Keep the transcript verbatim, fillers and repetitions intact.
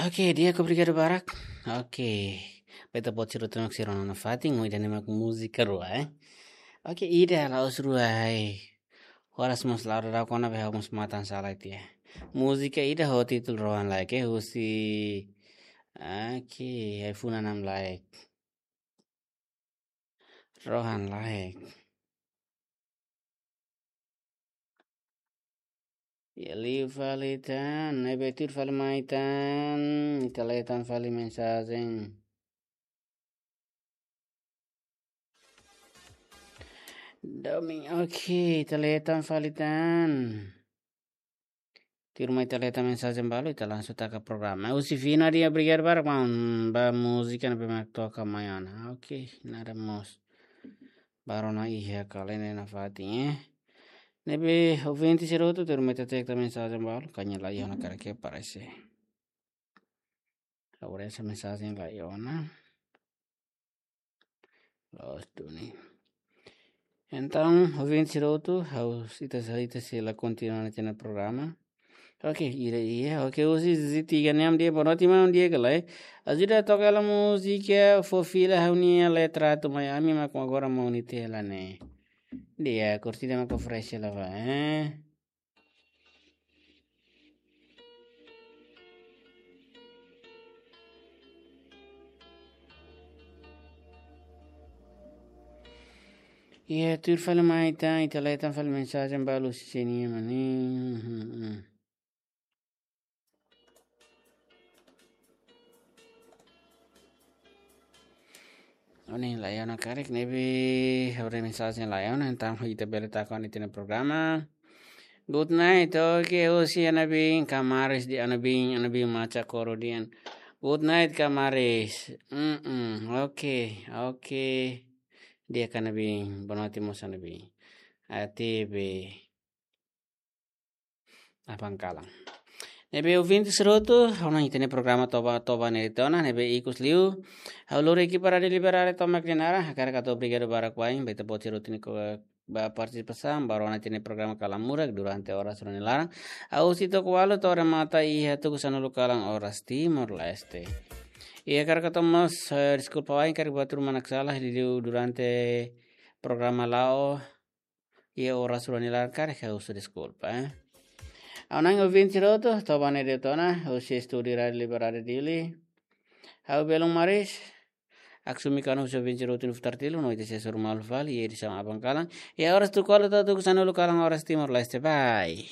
Oke, di'ak, obrigadu barak. Oke. Beta pode sira tengok sira-nia fatin, ida-ne'e mak múzika rua, eh. Oke, ida la'ós rua, eh. Horas mós la'o dadauk ona, be ha'u mós matan sala tiha. Múzika ida ho títulu Rohan Laek, eh, husi. Oke, ai-funan Am Laek. Rohan Laek. Iha liu fali tan, ne'ebé tuir fali mai tan, ita lee tan fali mensajen. Domin, oke, ita lee tan fali tan. Tuirmai ita lee tan mensajen balu, ita langsung taka programa. Husi Fina, di'ak, obrigadu barak, maun, ba múzika ne'ebé mak toka mai ona. Oke, nada mós. Baru na iha kalene na fatin, eh. Ne'ebé ouvinte sira hotu, tuirmai ita taka mensajen balu, kanya la iha ona karik, parese. Agora essa mensajen la iha ona. Loos duni. Entaun, ouvinte sira hotu, ha'u, ita sei, ita sei la kontinua ona ita-nia programa. Oke, ida iha, oke, husi Ziti Ganiam, di'ak, boa noite, maun, di'ak ka lae. Ajuda toka hela múzika, fó fila ha'u-nia letra atu mai ami mak agora monu tiha hela ne'e. Di'ak, kurtida mak fresh hela ba, eh. Iha tuir fali mai tan, ita lee tan fali mensajen balu husi sira-nia mane. Hmm, hmm, hmm. Ohin la iha ona karik, ne'ebé ha'u-nia mensajen la iha ona, entaun ita bele taka ona ita-nia programa. Good night, oke, husi Anabin, Kamaris di Anabin, Anabin maca koro dian. Good night, Kamaris. Mm-mm, oke, oke. Di'ak Anabin, boa noite mós Anabin. A T B. Abang kalan. Ne'ebé ouvinte sira hotu, ha'u-nia ita-nia programa toba, toba ne'e de'it ona, ne'ebé ikus liu. Ha'u lori ekipa Rádiu Liberdade tomak nia naran, hakarak hato'o obrigadu barak ba imi, ba ita-boot sira hotu ne'ebé ba partisipasaun, ba rona ita-nia programa Kalan Murak durante oras rua nia laran. Husi to'o ualu to'o remata iha tuku sanulu kalan oras Timor-Leste. I hakarak hato'o mós, eh, deskulpa ba imi karik buat ruma mak sala, liuliu durante programa la'o, iha oras rua nia laran karik ha'u husu deskulpa, eh. Ha'u-nia ouvinte sira hotu, toba ne'e de'it ona, husi estúdiu Rádiu Liberdade Dili. Ha'u belun Maris, Aksumi Kanu husi ouvinte sira hotu nia futar tilu, no ita sei hasoru malu fali, iha edisaun abang kalan. Iha oras tuku ualu to'o tuku sanulu kalan oras Timor-Leste, bye.